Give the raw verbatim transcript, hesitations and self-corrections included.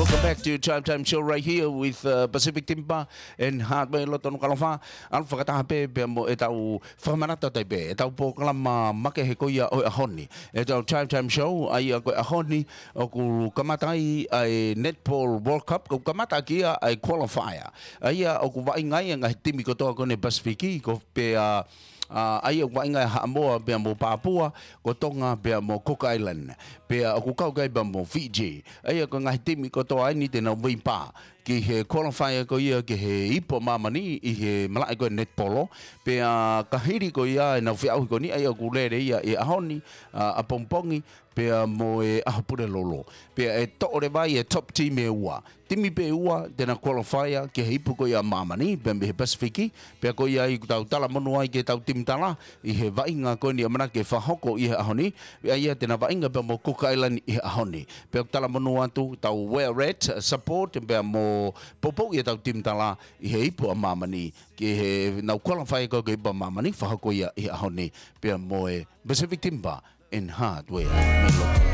Welcome back to Drive Time Show right here with uh, Pacific Timber and Hardware, loto Nukuʻalofa. ʻAlu fakataha pē pea mo ʻetau fakamanatu atu ai pē ʻetau polokalama makehe ko ia ʻo e ʻaho ni, ʻetau Drive Time Show, ʻa ia ko e ʻaho ni ʻoku kamata ai ʻa e Netball World Cup, ʻoku kamata ʻaki ia ʻa e qualifier. ʻA ia ʻoku vaʻinga ai e ngaahi timi kotoa ko eni Pasifiki, ko pea, ʻa, ʻa ia ʻoku vaʻinga ai Haʻamoa pea mo Papua, ko Tonga pea mo Cook Island. Pea ʻoku kau ki ai pea mo Fiji. ʻA ia ko e ngaahi timi kotoa eni te nau veipā ki he qualifier ko ia ki he Ipu ʻa Māmani ʻi he malaʻe ko e netipolo. Pea ka hili ko ia ʻenau feʻauhi ko eni, ʻa ia ʻoku lele ia ʻi he ʻaho ni, ʻa, ʻapongipongi, pea mo e ʻaho Pulelulu. Pea ʻe toʻo leva ʻe he top team ʻe ua. Timi pē ʻe ua te nau qualifier ki he Ipu ko ia ʻa Māmani, pea mei he Pasifiki. Pea ko ia ai ʻoku tau talamonū ai ki heʻetau timi tala ʻi he vaʻinga ko eni ʻamanaki ke fakahoko ʻi he ʻaho ni. ʻA ia te nau vaʻinga pea mo Cook Island ʻi he ʻaho ni. Pea ʻoku talamonū atu ʻetau Wear Red support pea mo poupouʻi ʻetau timi tala ʻi he Ipu ʻa Māmani, ki heʻenau qualifier ko ia ki he Ipu ʻa Māmani, fakahoko ia ʻi he ʻaho ni, pea mo e Pacific Timber and Hardware. Melo.